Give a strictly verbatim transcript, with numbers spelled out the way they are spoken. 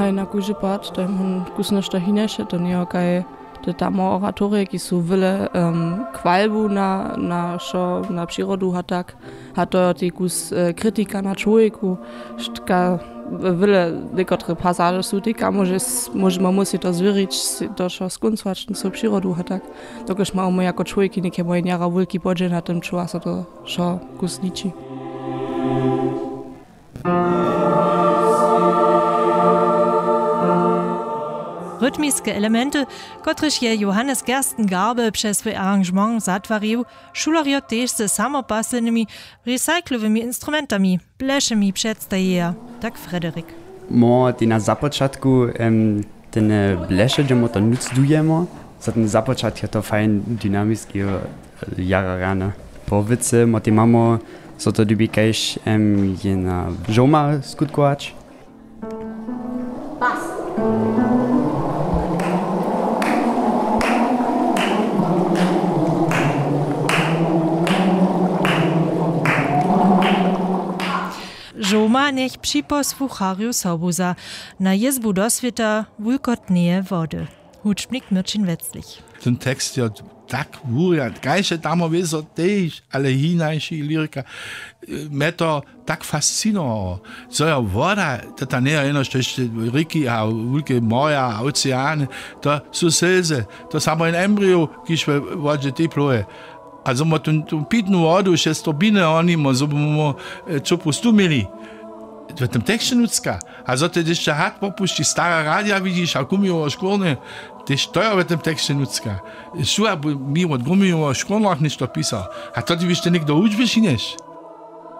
Na kóždy part to je món kusno što hineše, to njejo kaj te tam oratorije ki su wyle, chwalbu na na wšo na přirodu a tak. A to jo tej kus kritika na čłowjeku, štka wyle někotre pasaže su tej kamorže, móžemy mósli to zwěrić, to wšo skóncować ten so přirodu a tak. Dokelž mamy jako čłowjeki něke moje njara wulki podźěl na tym čuwa so to wšo kus liči. Rytmiske elementy, kotrež je johannes gersten garbe přez swój arrangement zatwarił, šulerjo tež ze samopasljenymi recyclowymi instrumentami, blešemi předstajeja, tak frederik. Mo tej na započatku ten bleše dźemo to nutř dujemo, za ten započatk je to fajn dynamiski. Jara rjane po wěcy mo tej mamo, zo to dybi kaž jena žołma skutkować. Žołma njech připosłucharju sobuza na jězbu do swěta wulkotneje wody. Hudźbnik myrčin weclich. Ten tekst jo tak wurjad kaž je tamo wězo tež ale hinajši lyrika, mje to tak fascinowało, zo jo woda, to ta njejo jenož tež rěki a wulke morja a oceany, to su slzy, to samo jen embryo kiž we wodźe tej plowe. A zo mo tu pitnu wodu šestor biny honimo zo by mo čopu stumili. W tym teksće nutřka. A zo te hišće had popušći stara radja widźiš a kumiłowo škórnje, tež to jo w tym teksće nutřka. Šuła by mi wot gumiłowo škórnjach něšto pisał. A to ty byš te někdo hudźby činješ.